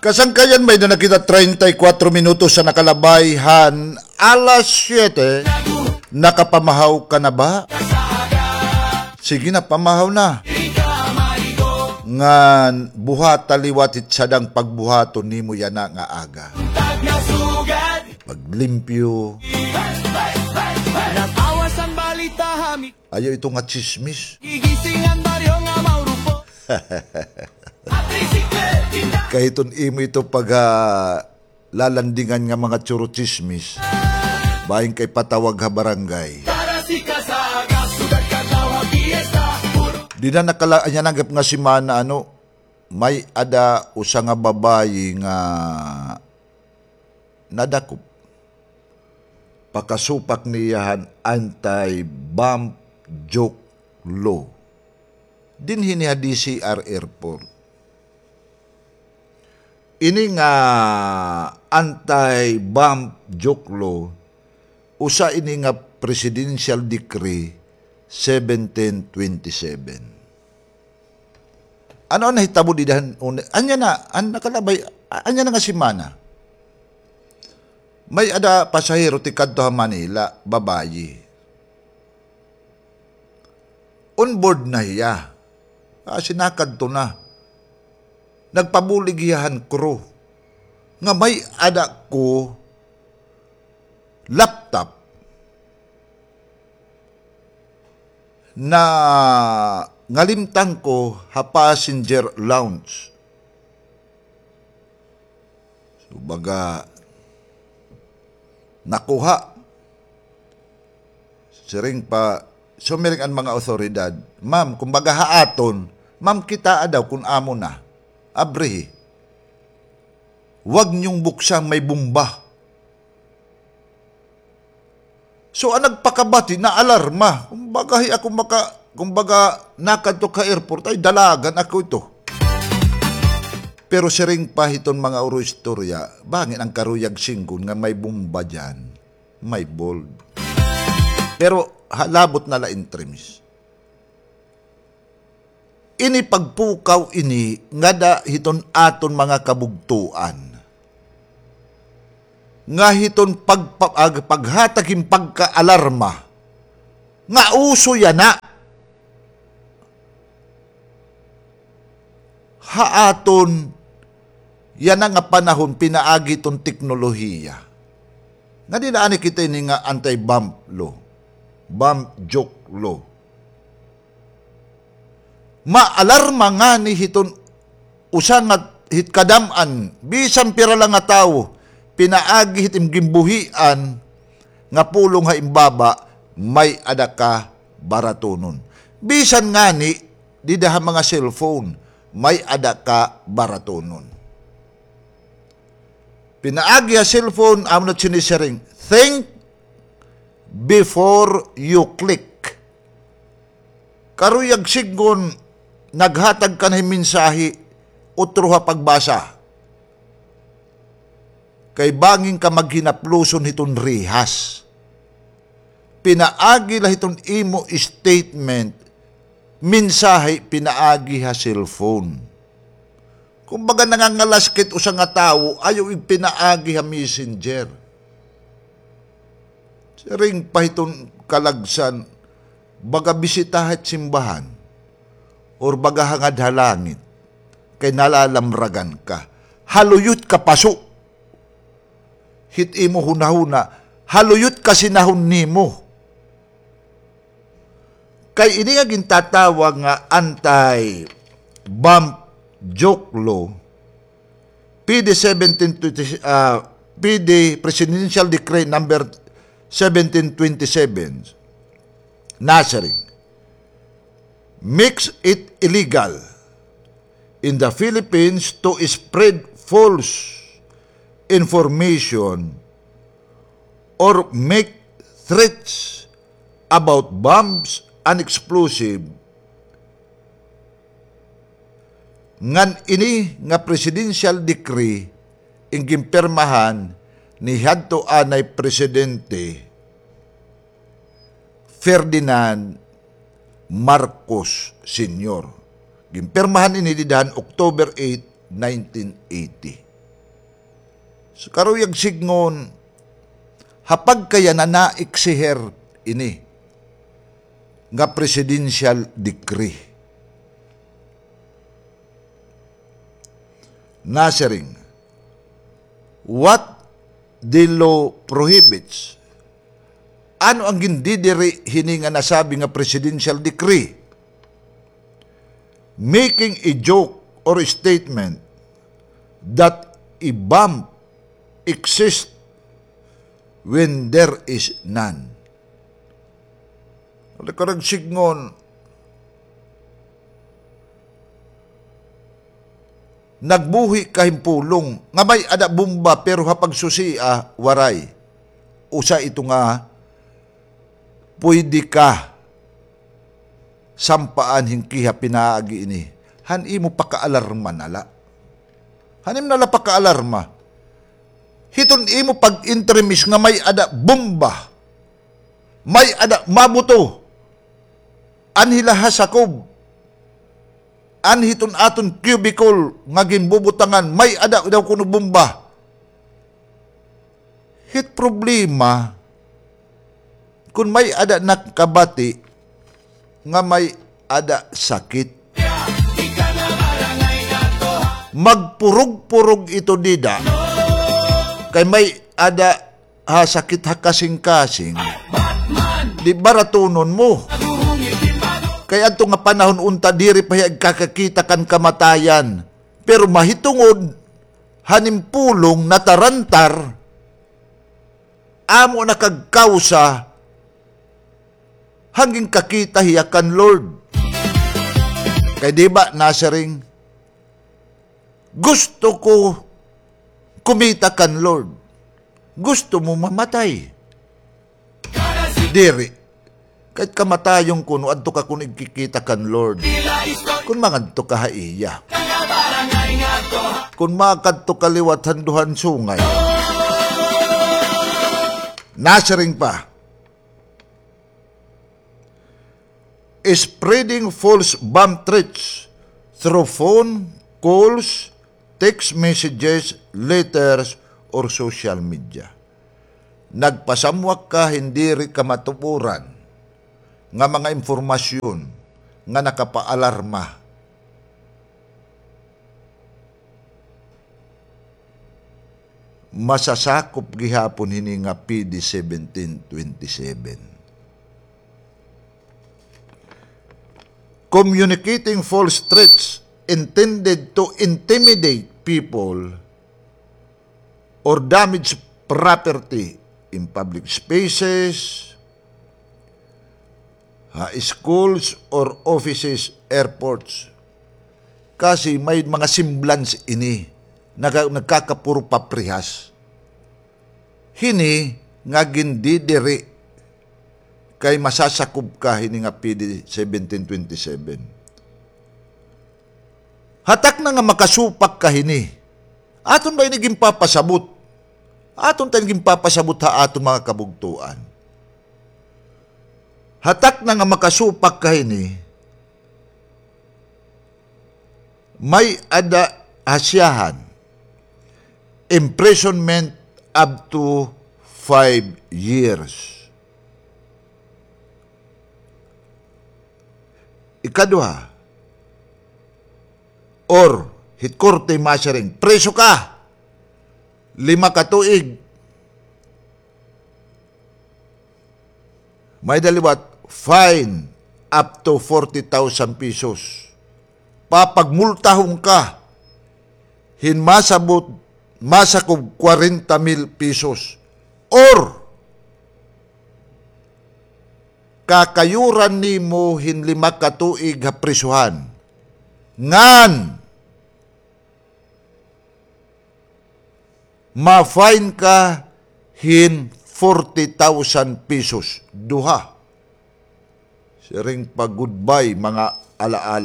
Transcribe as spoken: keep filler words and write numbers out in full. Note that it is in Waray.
Kasangkayan, may-ada na kita treinta y cuatro minutos an nakalabay han alas siyete. Nakapamahaw ka na ba? Sige na, pamahaw na. Ngan buhata liwat hit sadang pagbuhaton nimo yana nga aga. Paglimpyo. Ayaw ito nga tsismis. Kay iton imo ito pag, ah, lalandingan nga mga churo-tsismis, bahin ka ipatawag ha barangay. Dida nakala-, anya nanggap nga semana, ano, may-ada usa nga babayi nga nadakop pakasupak niya han anti-bomb joke law dinhi ini ha D C R Airport. Ini nga anti-bomb joke law, usa ini nga Presidential Decree seventeen twenty-seven. Ano an nahitabo dida han un-, anya na, an nakalabay, a-, anya na nga semana? May-ada pasahero tikadto ha Manila, babayi. On board na hiya. Ah, sinakadto na. Nagpabulig hiya han crew nga may-ada ko laptop na ngalimtan ko ha passenger lounge. So, baga, nakuha. Siring pa, sumiring an mga awtoridad, "Ma'am, kumbaga ha aton, ma'am, kitaa daw kun amo na. Abrihi. Huwag niyong buksan, may bomba." So, an nagpakabati, naalarma. Kumbaga, hi ako maka-, kumbaga, nakadto ka airport, ay, dalagan ako ito. Pero siring pa hiton mga uro istorya, bangin an karuyag singgon nga may bomba diyan, may bold. Pero, ha, labot na la in terms. Ini pagpukaw ini ngada hiton aton mga kabugtoan. Nga hiton pagpa-, ag-, paghatag hin pagkaalarma nga uso yana ha aton yana nga panahon pinaagi hiton teknolohiya. Nga dida anay kita ini nga anti-bomb law, bomb joke law. Maalarma ngani hiton usa nga hit kadam-an, bisan pira la nga tawo, pinaagi hit im ginbuhian nga pulong ha im baba, may-ada ka baratonon. Bisan ngani dida ha mga cellphone, may-ada ka baratonon. Pinaagi ha cellphone, amo na sinisiring, "Think before you click." Karuyag sidngon, naghatag ka na hin mensahe, utroha pagbasa. Kay bangin ka maghinapluson hiton rehas. Pinaagi la hiton imo statement, mensahe pinaagi ha cellphone. Kumbaga, nangangalaskit usa nga tawo, ayaw igpinaagi ha messenger. Siring pa hiton kalagsan, baga bisita hit simbahan, or baga hangad ha langit, kay nalalamragan ka. Haluyot ka paso. Hit imo hunahuna, haluyot ka sinahon nimo. Kay ini nga gintatawag nga anti-bomb joke law, P D seventeen twenty, ah, P D Presidential Decree number seventeen twenty-seven, nasiring, makes it illegal in the Philippines to spread false information or make threats about bombs and explosive, ngan ini nga presidential decree in ginpirmahan ni hadto anay Presidente Ferdinand Marcos Senior. Ginpirmahan ini dida han October eight, nineteen eighty. So, karuyag sidngon, ha pagkayana naiksiher ini nga presidential decree. Nasiring, what the law prohibits? Ano an gindidiri hini nga nasabi nga presidential decree? Making a joke or a statement that a bomb exists when there is none. Wala ka nagsidngon. Nagbuhi ka hin pulong nga may-ada bomba, pero ha pagsusia, waray. Usa ito nga pwede ka sampaan hin kiha pinaagi ini. Han imo pakaalarma na la. Han imo na la pakaalarma. Hiton imo pag-intremis nga may-ada bomba. May-ada mabuto. Anhi la ha sakob. Anhi hiton aton cubicle nga ginbubutangan, may-ada daw kuno bomba. Hit problema, kon may-ada nakabati nga may-ada sakit. Magpurog-purog ito dida. Kay may-ada ha sakit ha kasingkasing. Di baratunon mo. Kay adto nga panahon unta diri pa hiya agkakakita kan kamatayan. Pero mahitungod han im pulong natarantar, amo na kagkawsa han ginkakita hiya kan Lord. Kay di ba nasiring, gusto ko kumita kan Lord. Gusto mo mamatay? Diri. Kay kamatayon kuno, adto ka kuno igkikita kan Lord. Kon mangadto ka ha iya. Kon makadto ka liwat han duhan sungay. Nasiring pa, spreading false bomb threats through phone calls, text messages, letters, or social media. Nagpasamwak ka hin diri kamatuoran nga mga impormasyon nga nakapaalarma. Masasakop gihapon hini nga P D seventeen twenty-seven. Communicating false threats intended to intimidate people or damage property in public spaces, ha schools or offices, airports. Kasi may mga semblance ini, nagka-, nagkakapuro paprihas. Hini nga gindidiri kay masasakob ka hini nga P D seventeen twenty-seven. Ha takna nga makasupak ka hini, aton ba ini ginpapasabot? Aton ta ini ginpapasabot ha aton mga kabugtoan. Ha takna nga makasupak ka hini, may-ada ha siyahan imprisonment up to five years. Ikaduha, or hit korte masiring, priso ka lima ka tuig. May-ada liwat, fine up to forty thousand pesos. Papagmultahon ka hin masabot, masakob kwarenta mil pesos. Or, kakayuran nimo hin lima ka tuig ha prisuhan. Ngan, ma-fine ka hin forty thousand pesos. Duha. Siring pa goodbye, mga alaala.